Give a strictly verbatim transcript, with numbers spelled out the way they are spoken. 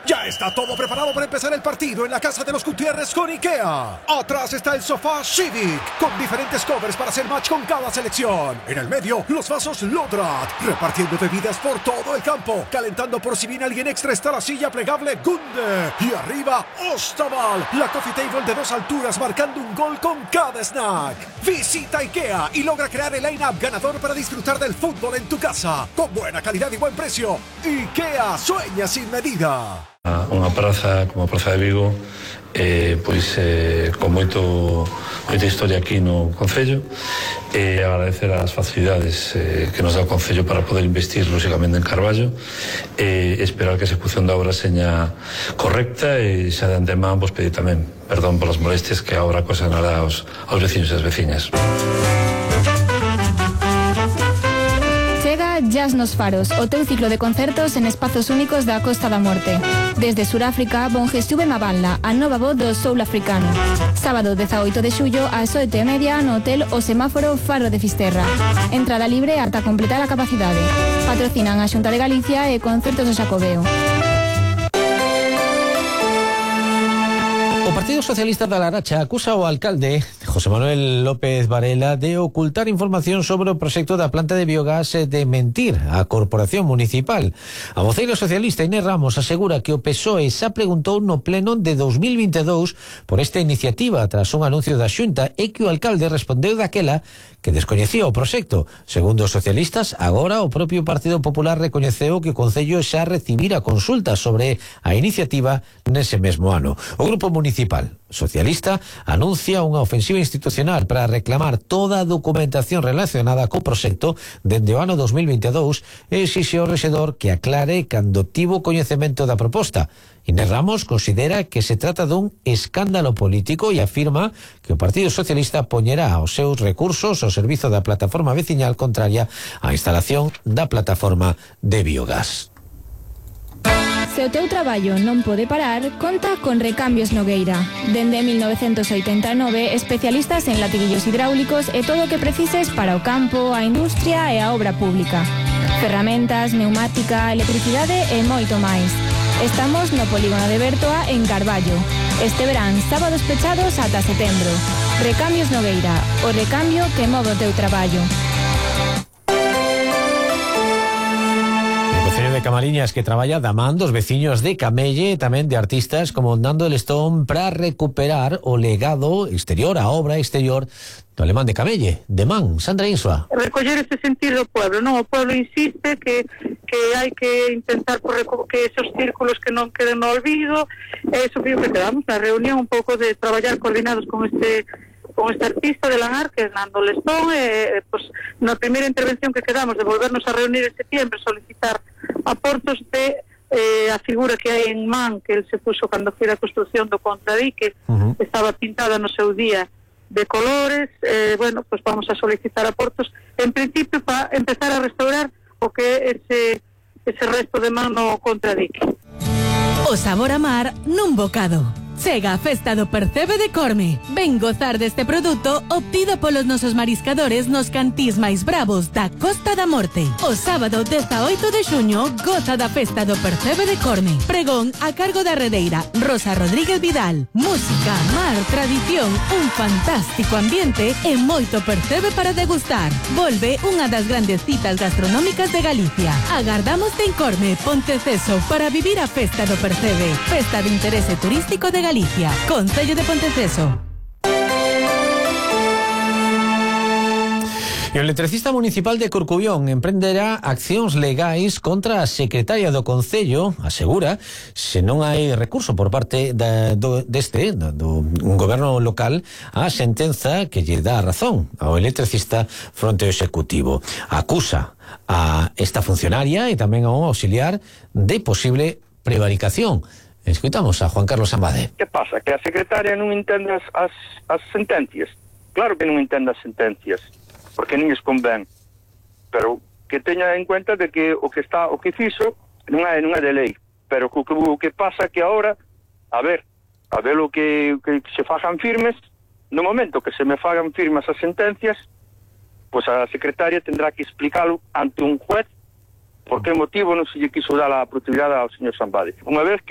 Ya está todo preparado para empezar el partido en la casa de los Gutiérrez con IKEA. Atrás está el sofá Civic, con diferentes covers para hacer match con cada selección. En el medio, los vasos Lodrat, repartiendo bebidas por todo el campo. Calentando por si viene alguien extra está la silla plegable Gunde. Y arriba, Ostaval, la coffee table de dos alturas marcando un gol con cada snack. Visita IKEA y logra crear el line-up ganador para disfrutar del fútbol en tu casa. Con buena calidad y buen precio. IKEA sueña sin medida. Unha praza como a Praza de Vigo eh, pois eh, con moito moita historia aquí no Concello e eh, agradecer as facilidades eh, que nos dá o Concello para poder investir lógicamente en Carballo e eh, esperar que a execución da obra seña correcta e xa de antemán vos pedir tamén perdón polas molestias que a obra ocasionará aos, aos veciños e as veciñas. Jazz nos Faros, o teu ciclo de concertos en espazos únicos da Costa da Morte. Desde Suráfrica, Bongestuve Maballa, a nova voz do soul africano. Sábado dezaoito de xullo ás oito e media no Hotel O Semáforo Faro de Fisterra. Entrada libre ata completar a capacidade. Patrocinan a Xunta de Galicia e Concertos do Xacobeo. O Partido Socialista da Laracha acusa ao alcalde José Manuel López Varela de ocultar información sobre o proxecto da planta de biogás e de mentir á Corporación Municipal. A voceira socialista Inés Ramos asegura que o P S O E xa preguntou no pleno de dos mil vinte e dous por esta iniciativa tras un anuncio da Xunta e que o alcalde respondeu daquela que descoñecía o proxecto. Segundo os socialistas, agora o propio Partido Popular recoñeceu que o Concello xa recibira consultas sobre a iniciativa nese mesmo ano. O Grupo Municipal Socialista anuncia unha ofensiva institucional para reclamar toda a documentación relacionada co proxecto dende o ano dos mil vinte e dous e exixe ao rexedor que aclare cando tivo coñecemento da proposta. Inés Ramos considera que se trata dun escándalo político e afirma que o Partido Socialista poñerá os seus recursos ao servizo da plataforma veciñal contraria á instalación da plataforma de biogás. Se o teu traballo non pode parar, conta con Recambios Nogueira. Dende mil novecentos oitenta e nove, especialistas en latiguillos hidráulicos e todo o que precises para o campo, a industria e a obra pública. Ferramentas, neumática, electricidade e moito máis. Estamos no polígono de Bertoa en Carballo. Este verán, sábados pechados ata setembro. Recambios Nogueira, o recambio que move o teu traballo. De Camariñas que traballa da man dos veciños de Camelle e tamén de artistas como Nando Lestón para recuperar o legado exterior, a obra exterior do alemán de Camelle, de man. Sandra Insua. Recoller ese sentir do pueblo, non? O pueblo insiste que que hai que intentar por que esos círculos que non queden no olvido, e iso que quedamos na reunión un pouco de traballar coordinados con este con este artista de Langar, que é Nando Lestón, e pues, na primeira intervención que quedamos de volvernos a reunir en septiembre, solicitar aportos de eh, a figura que hai en man, que el se puso cando foi a construcción do contradique, uh-huh. Estaba pintada no seu día de colores, eh, bueno, pues vamos a solicitar aportos, en principio, para empezar a restaurar o que é ese, ese resto de man no contradique. O sabor a mar nun bocado. Chega a festa do Percebe de Corme. Ven gozar deste produto obtido polos nosos mariscadores nos cantís máis bravos da Costa da Morte. O sábado dezaoito de xuño goza da festa do Percebe de Corme. Pregón a cargo da redeira Rosa Rodríguez Vidal. Música, mar, tradición, un fantástico ambiente e moito percebe para degustar. Volve unha das grandes citas gastronómicas de Galicia. Agardamos en Corme, Ponteceso, para vivir a festa do Percebe. Festa de interese turístico de Galicia. Galicia, Concello de Ponteceso. E o electricista municipal de Corcubión emprenderá accións legais contra a secretaria do Concello, asegura, se non hai recurso por parte da, do, deste, do, do un goberno local, a sentenza que lle dá a razón ao electricista fronte ao executivo. Acusa a esta funcionaria e tamén ao auxiliar de posible prevaricación. Escuitamos a Juan Carlos Ambade. Que pasa? Que a secretaria non entende as, as, as sentencias? Claro que non entende as sentencias, porque non lles convén. Pero que teña en cuenta de que o que está o que fixo non é, non é de lei. Pero o que, o que pasa que ahora, a ver, a ver o que, que se fagan firmes, no momento que se me fagan firmes as sentencias, pois a secretaria tendrá que explicalo ante un juez por que motivo non se lle quiso dar a propiedade ao señor Sambade. Unha vez que